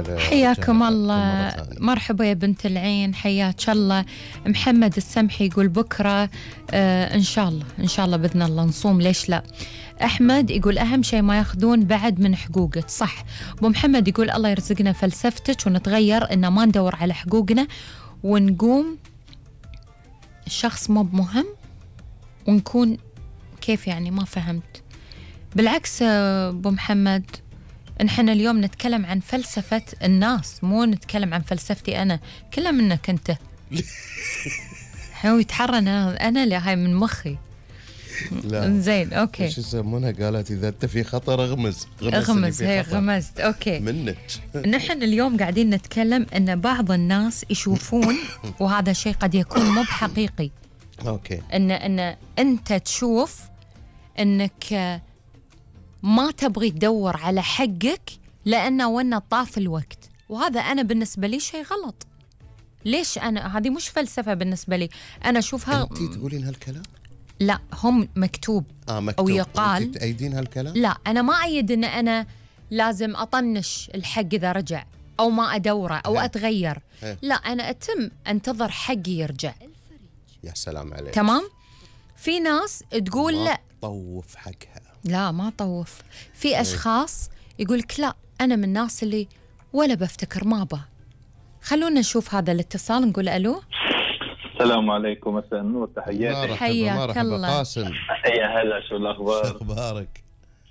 هلا حياكم الله. مرحبا يا بنت العين، حياك الله. محمد السمحي يقول بكرة إن شاء الله بإذن الله نصوم، ليش لا. أحمد يقول أهم شيء ما ياخذون بعد من حقوقك. صح. أبو محمد يقول الله يرزقنا فلسفتك ونتغير، إن ما ندور على حقوقنا ونقوم الشخص مو بمهم ونكون كيف يعني، ما فهمت. بالعكس أبو محمد، نحن اليوم نتكلم عن فلسفة الناس، مو نتكلم عن فلسفتي أنا. كلها منك أنت. هو يتحرن أنا اللي هاي من مخي. لا زين أوكي. ايش يسمونها؟ قالت إذا أنت في خطر اغمز. هي غمزت. أوكي منك. نحن اليوم قاعدين نتكلم أن بعض الناس يشوفون وهذا شيء قد يكون مو بحقيقي. أوكي. أن أنت تشوف أنك ما تبغي تدور على حقك لأنه وانا طاف الوقت، وهذا أنا بالنسبة لي شيء غلط. ليش أنا هذه مش فلسفة بالنسبة لي، أنا أشوفها. أنتي تقولين هالكلام؟ لا هم مكتوب. مكتوب أو يقال. أنتي تأيدين هالكلام؟ لا أنا ما أيد أن أنا لازم أطنش الحق إذا رجع أو ما أدوره أو أتغير. لا أنا أنتظر حقي يرجع. يا سلام عليك. تمام. في ناس تقول لا طوف حقها. لا ما طوف. في أشخاص يقولك لا أنا من الناس اللي ولا بفتكر ما با. خلونا نشوف هذا الاتصال، نقول ألو. السلام عليكم، مساء النور، تحياتي. حياك الله. قاسم. يا هلا، شو الأخبار؟ شو أخبارك؟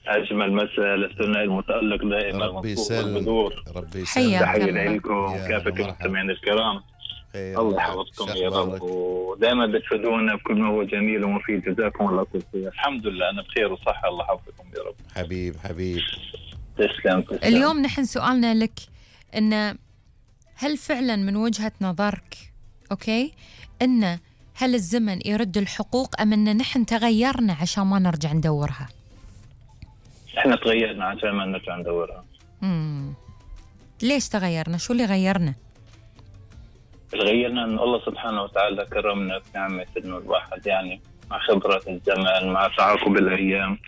أجمل مساء للثنائي المتألق دائما. ربي يسلمك. ربي يسلمك. تحية لكم كافة المستمعين الكرام. الله يحفظكم يا رب، ودائما بتفيدونا بكل ما هو جميل ومفيد. جزاكم الله كل خير. الحمد لله أنا بخير وصحة، الله يحفظكم يا رب. حبيب تسلم. اليوم نحن سؤالنا لك إن هل فعلا من وجهة نظرك أوكي إن هل الزمن يرد الحقوق أم إن نحن تغيرنا عشان ما نرجع ندورها؟ إحنا تغيرنا عشان ما نرجع ندورها. ليش تغيرنا؟ شو اللي غيرنا؟ غيرنا أن الله سبحانه وتعالى كرمنا بنعمة إنه الواحد يعني مع خبرة الزمن مع تعاقب الأيام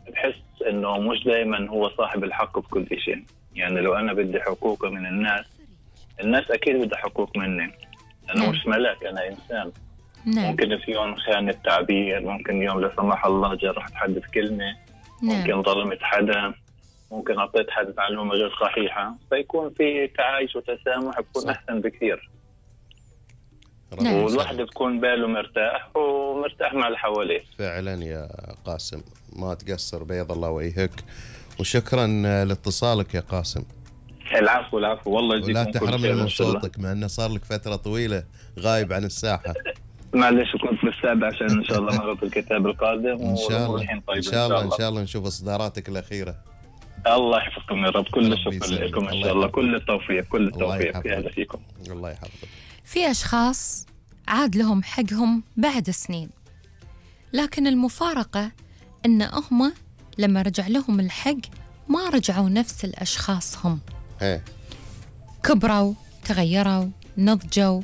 بحس إنه مش دائما هو صاحب الحق بكل شيء. يعني لو أنا بدي حقوق من الناس أكيد بدي حقوق مني. أنا مش ملاك، أنا إنسان. ممكن في يوم خان التعبير، ممكن يوم لا سمح الله جرحت حد بكلمة، ممكن ظلمت حدا، ممكن أعطيت حد معلومة غير صحيحة، فيكون في تعايش وتسامح بكون أحسن بكثير. والواحد بكون باله مرتاح ومرتاح مع اللي حواليه. فعلا يا قاسم، ما تقصر، بيض الله وجهك، وشكرا لاتصالك يا قاسم. العفو والله يجزيكم. ولا تحرمنا من صوتك مع انه صار لك فترة طويلة غايب عن الساحة. معلش كنت بالسابع عشان ان شاء الله مرة الكتاب القادم. ان شاء الله طيب. ان شاء الله نشوف اصداراتك الأخيرة. الله يحفظكم يا رب. كل الشكر لكم ان شاء الله. كل التوفيق. اهلا فيكم. الله يحفظك. في أشخاص عاد لهم حقهم بعد سنين، لكن المفارقة إن هم لما رجع لهم الحق ما رجعوا نفس الأشخاص هم. كبروا، تغيروا، نضجوا،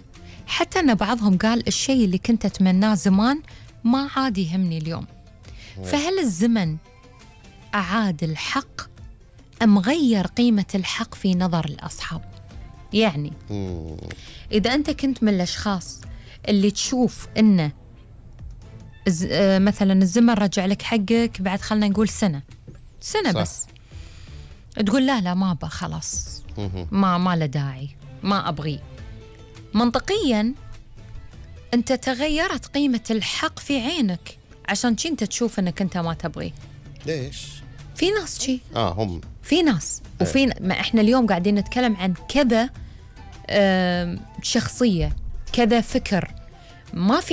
حتى أن بعضهم قال الشيء اللي كنت أتمناه زمان ما عاد يهمني اليوم. فهل الزمن أعاد الحق أم غير قيمة الحق في نظر الأصحاب؟ يعني إذا أنت كنت من الأشخاص اللي تشوف إنه مثلا الزمن رجع لك حقك بعد خلنا نقول سنة بس، تقول لا ما أبغى خلاص، ما له داعي، ما أبغي. منطقيا أنت تغيرت قيمة الحق في عينك عشان أنت تشوف أنك أنت ما تبغي. ليش؟ في ناس شي هم في ناس وفي ما إحنا اليوم قاعدين نتكلم عن كذا شخصية، كذا فكر، ما في